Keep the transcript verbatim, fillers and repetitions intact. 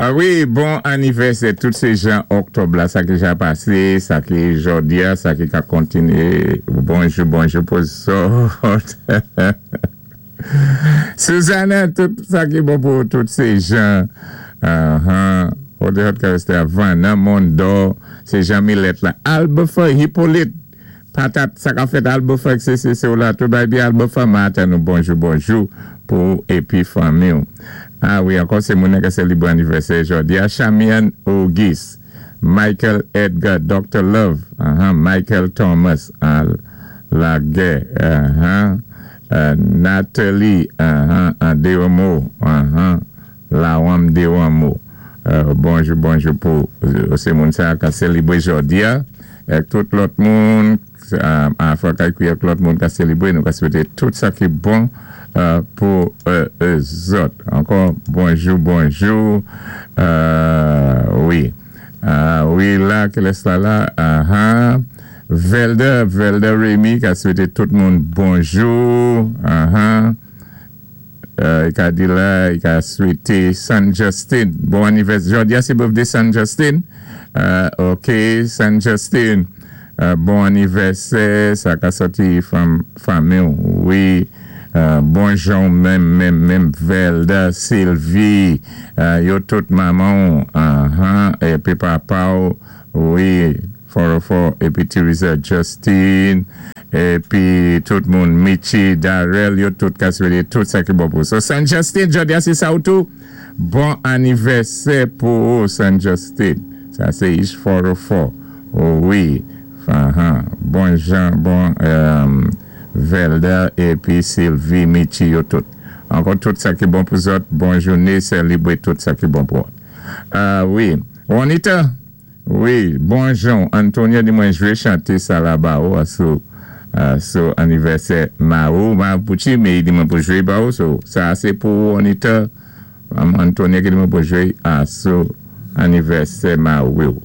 Ah wi, bon anivèsè tout sé jan òktòb la, sa ki ja pasé, sa ki jòdi-a, sa ki ka kontinyé. Bonjou, bonjou pou zòt. Suzanne, tout sa ki bon pou tout sé jan. Uh-huh. Vanna, Mondo, sé jan Millet la. Albefa, Hippolyte, patat, sa ka fèt Albefa, sé sé sé la, tout bay byen Albefa, maten nou bonjou, bonjou pou épi fanmi. Ah wi, ankò sé moun ki sélibré anivèsè jòdi-a. Chamian Auguste, Michael Edgar, Doctor Love, uh-huh, Michael Thomas, uh, Laguerre, uh-huh, uh, Nathalie, uh-huh, uh, Deomo, uh-huh, Lawam Deomo. Euh, bonjou, bonjou pou euh, sé moun sa ki sélibré jòdi-a. Ak tout lòt moun, euh, Afrika ak lòt moun ki sélibré, nou ka swété tout sa ki bon euh, pou euh, zòt. Ankò, bonjou, bonjou. Euh, wi. Ah, wi, la, kilès la la? Ah, ah. Velda, Velda Remy, ki a swété tout moun bonjou. Ah, ah. Euh, i ka di la, i ka swété San Justin. Bon anivèsè. Jòdi-a, sé birthday San Justin. Euh, OK, San Justin. Euh, bon anivèsè. Sa ka sòti fanm, fanmi. Wi. Euh, bonjou, menm, menm, menm, Velda, Sylvie, euh, yo tout manman, uh-huh, épi papa, wi, Forofo, épi Teresa Justin, épi tout moun, Michi, Darrell, yo tout ka swété tout sa ki bon pou. So, San Justin, jòdi-a, sé sa ou tou? Bon anivèsè pou San Justin. Sa, sé Ish Forofo. Oh, wi. Uh-huh. Bon Jean, bon euh, Velda, épi Sylvie, Michi, yo tout. Ankò tout sa ki bon pou zòt. Bon jounen, sélibré tout sa ki bon pou. Euh, wi. Juanita? Wi, bonjou. Antonio di mwen jwé chanté sa la ba ou, sou, euh, sou anivèsè Maou, Mapuchi, mé i di mwen pou jwé ba ou, so, sa sé pou Juanita. Antonio ki di mwen pou jwé a sou anivèsè Maou.